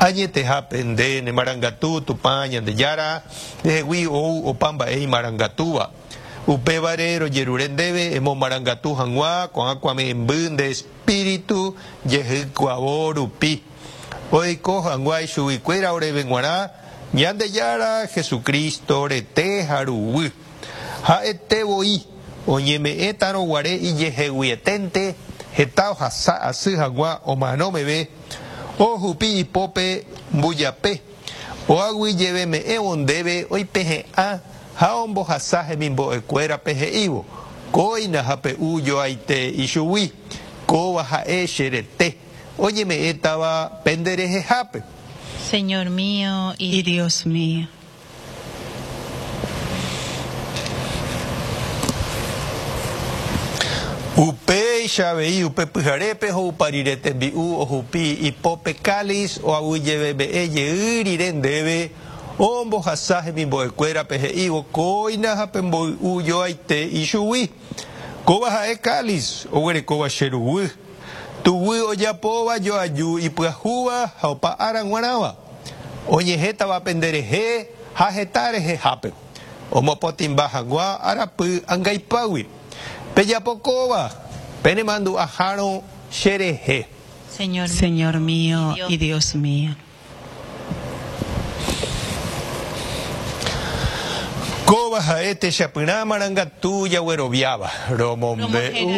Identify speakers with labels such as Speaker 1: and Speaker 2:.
Speaker 1: Añetehápe nde ne marangatu Tupã Ñandejára, ndehegui ou opa mba'e imarangatúva. Upévare rojerure ndéve emomarangatu hag̃ua ko'ã kuave'ẽmby nde espíritu jehykuavo rupi, oiko hag̃ua ichuguikuéra oréve g̃uarã Ñandejára Jesucristo rete ha ruguy. Ha'ete voi oñeme'ẽtarõ guare ijeheguieténte heta ohasa asy hag̃ua omano meve, ohupi ipópe mbujape, oaguyjeveme'ẽvo ndéve oipehe'ã ha ombohasa hemimbo'ekuérape he'ívo, Kóina ha pe'u joaite ichugui, kóva ha'e che rete, oñeme'ẽtava pende rehehápe.
Speaker 2: Señor mío
Speaker 3: y Dios mío.
Speaker 1: Upéicha avei upe pyharépe ho'upa rire tembi'u ohupi ipópe cáliz oaguyjeveme'ẽ jey rire ndéve, ombohasa hemimbo'ekuérape he'ívo, Kóina ha pemboy'u joaite ichugui. Kóva ha'e cáliz oguerekóva che ruguy, tuguy ojapóva joaju ipyahúva ha opa ára g̃uarãva. Oñehẽtava pende rehe ha heta rehehápe, omopotĩmba hag̃ua arapy angaipágui. Pejapo kóva, penemandu'ahárõ che rehe.
Speaker 3: Señor mío y Dios mío.
Speaker 1: Kóva ha'e techapyrã marangatu jagueroviáva, romombe'u.